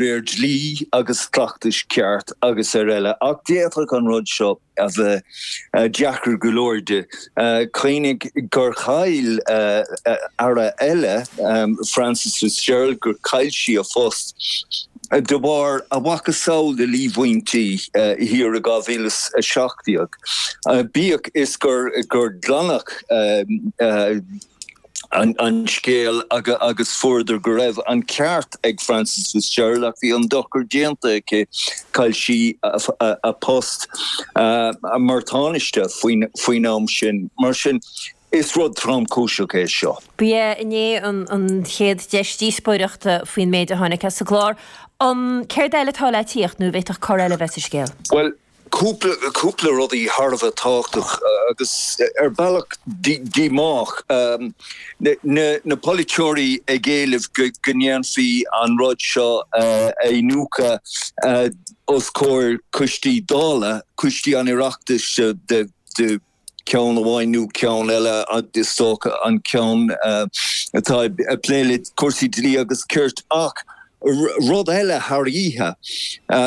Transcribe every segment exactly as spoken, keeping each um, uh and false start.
réir dlí agus cleachtais ceart agus araile, ach d'fhéadfadh an rud seo a bheith deacair go leor di. Cuimhnigh gur chaill aire eile, Frances Fitzgerald, gur chaill sí a phost de bharr a mhacasamhail de líomhaintí thiar i dhá mhíle is a seacht déag, bíodh is gur glanadh an scéal agus fuaireadar go raibh an ceart ag Frances Fitzgerald ach bhí an dochar déanta aici, chaill sí a post mar Tánaiste faoin am sin. Mar sin, is rud tromchúiseach é seo. Ba é inné an chéad deis díospóireachta faoin méid a tháinig as an gclár. An céard eile atá le tíocht nó an bhféadfadh cor eile a bheith sa scéal? Bhuel, cúpla, cúpla rudaí thar a bheith tábhachtach agus ar bhealach díomách. Na, na polaiteoirí ag éileamh go, go ndéanfaí an rud seo a iniúchadh os comhair coistí Dála, coistí an Oireachtais de, de ceann amháin nó ceann eile, is dócha an ceann atá ag plé le cúrsaí dlí agus cirt. Ach rud eile thar oíche,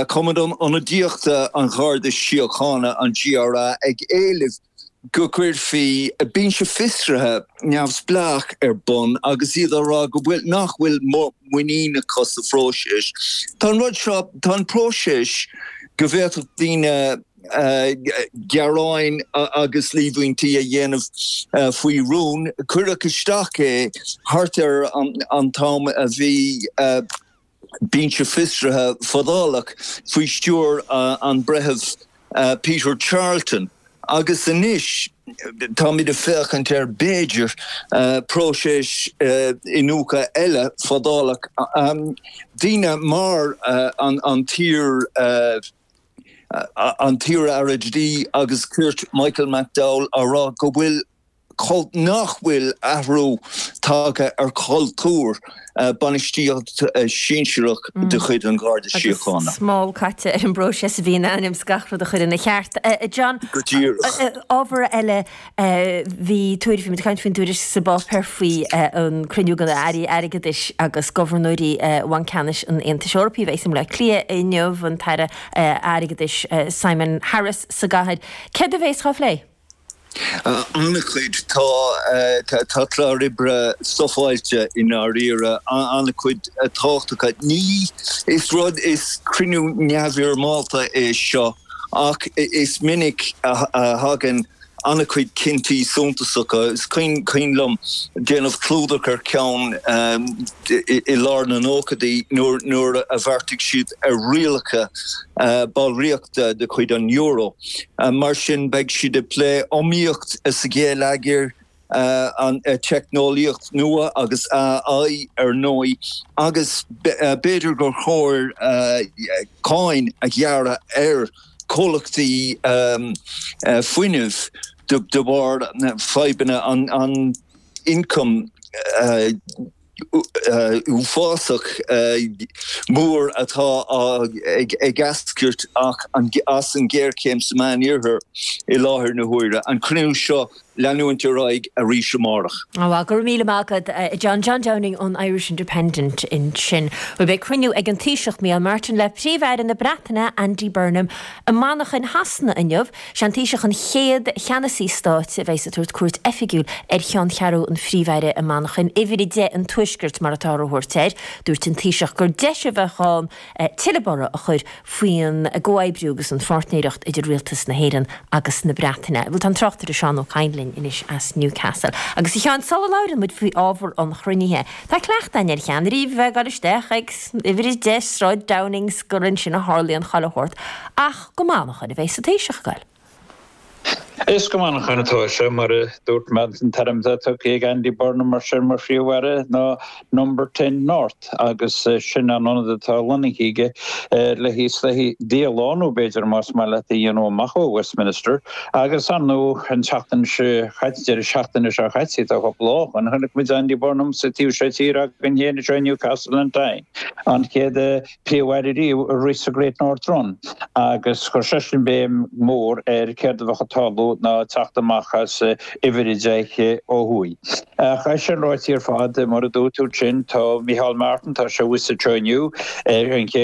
Cumann Ionadaíochta an Gharda Síochána, an GRA, ag éileamh go gcuirfí binse fiosraithe neamhspleách ar bun agus iad á rá go bhfuil, nach bhfuil muinín acu sa phróiseas. Tá an rud seo, tá an próiseas go bhféadfadh daoine gearáin agus líomhaintí a dhéanamh faoi rún. Cuireadh isteach é thart ar an t-am a bhí binse fiosraithe fadálach faoi stiúir an Bhreithimh Peter Charlton agus anois táimid ag féachaint ar, b'fhéidir, próiseas iniúchadh eile fadálach. Daoine mar an t-iar an t-iar-aire dlí agus cirt Michael McDowell á rá go bhfuil nach bhfuil athrú tagtha ar chultúr bainistíocht sinsearach de chuid an Gharda Síochána. Agus smál caite ar an bpróiseas a bhí in ainm is gach rud a chur ina cheart. John, Go díreach. Ábhar eile Bhí tuairisc, bhí muid ag caint faoin dtuairisc sa bpáipéar faoi an cruinniú de na hairí airgeadais agus gobharnóirí Bhanc Ceannais an Aontais Eorpaigh a bheas i mBaile Átha Cliath inniu, an tAire Airgeadais Simon Harris sa gcathair. Céard a bheas á phlé? An-chuid. Tá tá clár oibre stufáilte i ndáiríre, an-chuid tábhachtacha. Ní is rud is cruinniú neamhfhoirmeálta é seo ach is minic a thagann an-chuid cinntí suntasacha. Is cuimhin liom déanamh clúdach ar cheann i lár na nóchaidí nuair a bheartaigh siad ar rialacha ballraíochta de chuid an euro. Mar sin beidh siad ag plé iomaíocht sa gheilleagar, an teicneolaíocht nua agus AI ar ndóigh, agus b'fhéidir gur chóir cáin a ghearradh ar chomhlachtaí fuinnimh de bharr fadhbanna an ioncam uafásach mór atá ag eascairt as an ghéarchéim sa Meánoirthear i láthair na huaire. An cruinniú seo leanúint ar aghaidh arís amárach. Bhuel, go raibh míle maith agat, a John. John Downing ón Irish Independent ansin. Bhuel, beidh cruinniú ag an Taoiseach Micheál Martin le Príomh-Aire na Breataine, Andy Burnham, i Manchain Shasana inniu. Sé an Taoiseach an chéad cheannasaí stáit a bheas ag tabhairt cuairt oifigiúil ar cheanncheathrú an Phríomh-Aire i Manchain, Uimhir a deich an Tuaiscirt mar atáthar a thabhairt air. Dúirt an Taoiseach gur deis a bheadh ann tuilleadh borradh a chur faoin gcomhoibriú agus an pháirtnéireacht idir Rialtas na hÉireann agus na Breataine. Bhuel, tá an tráchtaire Seán Ó Cadhain linn anois as Newcastle. Agus a Sheáin, sula labhrann muid faoi ábhar an chruinnithe, tá cleachtadh againn ar cheannairí a bheith ag dul isteach ag uimhir a deich Sráid Downing 's gur ansin a tharlaíonn chuile shórt, ach go Manchain a bheas an Taoiseach ag goil. Is go Manchain atá sé, mar a dúirt mé, an t-ainm atá tugtha ag Andy Burnham mar sin mar Phríomh-Aire ná Number Ten North agus sin an ionad atá lonnaithe aige le híos le díolánú b'fhéidir más maith leat a dhéanamh amach ó Westminster agus ar ndóigh an tseachtain seo caite, deireadh seachtaine seo caite, tá cúpla lá ó shin, chonaic muid Andy Burnham sa taobh seo tíre againn féin anseo i Newcastle on Tyne, an chéad Príomh-Aire riamh a rith sa Great North Run agus chuir seisean béim mhór ar céard a bheadh ag tarlú tarlú ná teacht amach as uimhir a deich ó thuaidh. Ach é sin ráite ar fad mar a dúirt tú sin tá Micheál Martin tá sé thuas anseo inniu ar an chéad